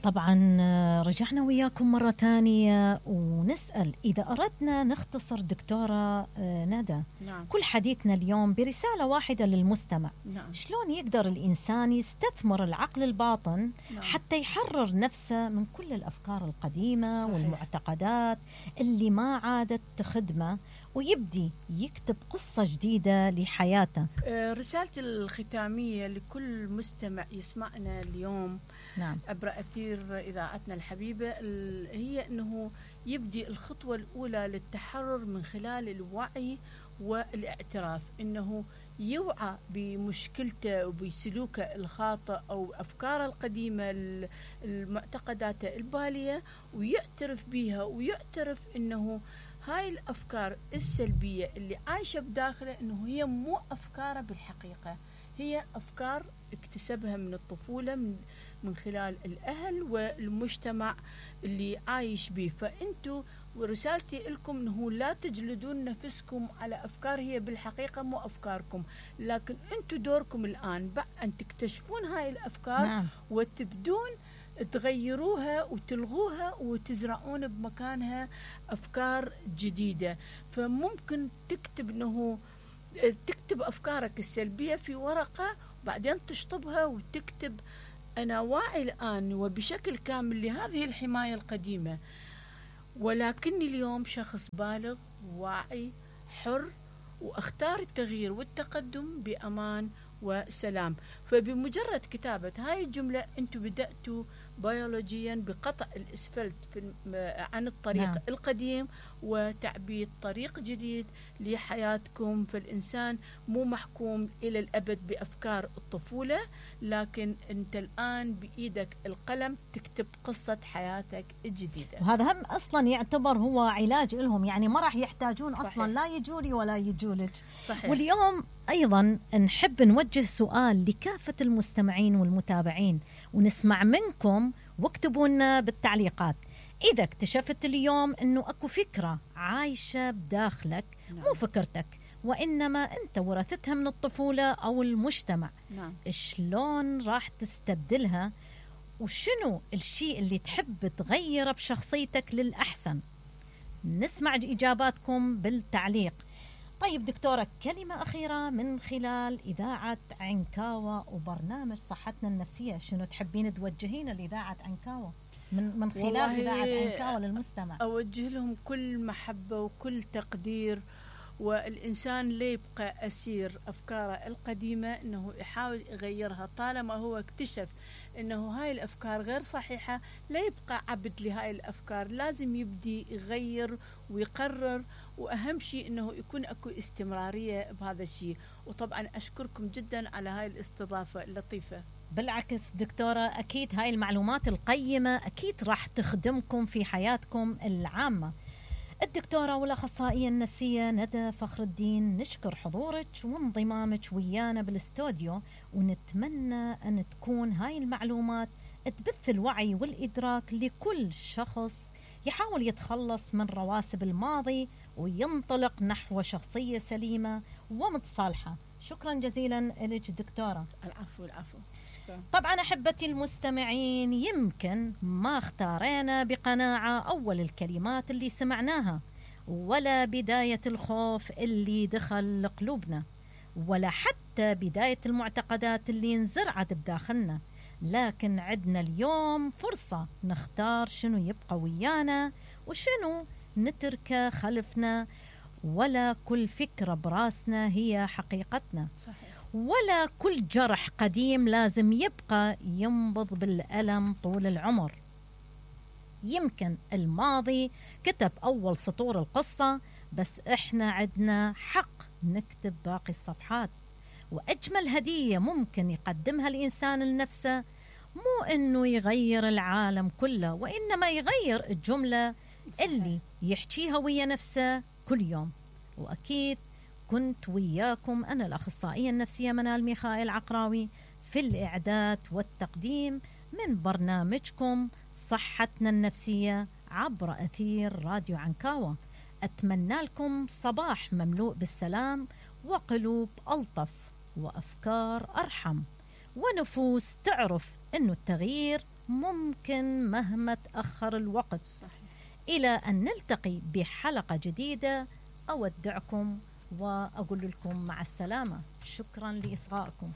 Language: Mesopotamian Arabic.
طبعا رجعنا وياكم مرة تانية ونسأل إذا أردنا نختصر دكتورة ندى كل حديثنا اليوم برسالة واحدة للمستمع. شلون يقدر الإنسان يستثمر العقل الباطن حتى يحرر نفسه من كل الأفكار القديمة والمعتقدات اللي ما عادت تخدمه ويبدي يكتب قصة جديدة لحياته؟ رسالتي الختامية لكل مستمع يسمعنا اليوم عبر أثير إذاعتنا الحبيبة هي أنه يبدي الخطوة الأولى للتحرر من خلال الوعي والاعتراف، أنه يوعى بمشكلته وبسلوكه الخاطئ أو أفكاره القديمة المعتقدات البالية ويعترف بها، ويعترف أنه هاي الأفكار السلبية اللي عايشة بداخله أنه هي مو أفكاره بالحقيقة، هي أفكار اكتسبها من الطفولة من خلال الأهل والمجتمع اللي عايش به. فأنتوا ورسالتي لكم أنه لا تجلدون نفسكم على أفكار هي بالحقيقة مو أفكاركم، لكن أنتوا دوركم الآن أن تكتشفون هاي الأفكار وتبدون تغيروها وتلغوها وتزرعون بمكانها أفكار جديدة. فممكن تكتب أفكارك السلبية في ورقة وبعدين تشطبها وتكتب أنا واعي الآن وبشكل كامل لهذه الحماية القديمة، ولكني اليوم شخص بالغ واعي حر وأختار التغيير والتقدم بأمان وسلام. فبمجرد كتابة هاي الجملة أنتوا بدأتوا بيولوجيا بقطع الإسفلت عن الطريق القديم وتعبيد طريق جديد لحياتكم. فالإنسان مو محكوم إلى الأبد بأفكار الطفولة، لكن أنت الآن بإيدك القلم تكتب قصة حياتك الجديدة، وهذا هم أصلا يعتبر هو علاج لهم، يعني ما راح يحتاجون أصلا لا يجولي ولا يجولك. واليوم أيضا نحب نوجه سؤال لكافة المستمعين والمتابعين ونسمع منكم، واكتبوا لنا بالتعليقات إذا اكتشفت اليوم أنه أكو فكرة عايشة بداخلك مو فكرتك وإنما أنت ورثتها من الطفولة أو المجتمع، شلون راح تستبدلها وشنو الشيء اللي تحب تغيره بشخصيتك للأحسن؟ نسمع إجاباتكم بالتعليق. طيب دكتورة، كلمة أخيرة من خلال إذاعة عنكاوة وبرنامج صحتنا النفسية، شنو تحبين توجهين لإذاعة عنكاوة من خلال إذاعة عنكاوة للمستمع؟ أوجه لهم كل محبة وكل تقدير، والإنسان لا يبقى أسير أفكاره القديمة، إنه يحاول يغيرها طالما هو اكتشف إنه هاي الأفكار غير صحيحة، لا يبقى عبد لهاي الأفكار، لازم يبدي يغير ويقرر، وأهم شيء إنه يكون أكو استمرارية بهذا الشيء. وطبعا أشكركم جدا على هاي الاستضافة اللطيفة. بالعكس دكتورة، أكيد هاي المعلومات القيمة أكيد راح تخدمكم في حياتكم العامة. الدكتورة والأخصائية النفسية ندى فخر الدين، نشكر حضورك وانضمامك ويانا بالاستوديو، ونتمنى أن تكون هاي المعلومات تبث الوعي والإدراك لكل شخص يحاول يتخلص من رواسب الماضي وينطلق نحو شخصية سليمة ومتصالحة. شكرا جزيلا لك دكتورة. العفو. طبعا أحبتي المستمعين، يمكن ما اختارينا بقناعة أول الكلمات اللي سمعناها، ولا بداية الخوف اللي دخل قلوبنا، ولا حتى بداية المعتقدات اللي انزرعت بداخلنا، لكن عدنا اليوم فرصة نختار شنو يبقى ويانا وشنو نتركه خلفنا. ولا كل فكرة براسنا هي حقيقتنا، ولا كل جرح قديم لازم يبقى ينبض بالألم طول العمر. يمكن الماضي كتب أول سطور القصة، بس إحنا عدنا حق نكتب باقي الصفحات. وأجمل هدية ممكن يقدمها الإنسان لنفسه مو إنه يغير العالم كله، وإنما يغير الجملة اللي يحكيها ويا نفسه كل يوم. وأكيد كنت وياكم أنا الأخصائية النفسية منال ميخائيل عقراوي في الإعداد والتقديم من برنامجكم صحتنا النفسية عبر أثير راديو عنكاوة. أتمنى لكم صباح مملوء بالسلام وقلوب ألطف وأفكار أرحم ونفوس تعرف أنه التغيير ممكن مهما تأخر الوقت. صحيح. إلى أن نلتقي بحلقة جديدة، أودعكم وأقول لكم مع السلامة. شكرا لإصغائكم.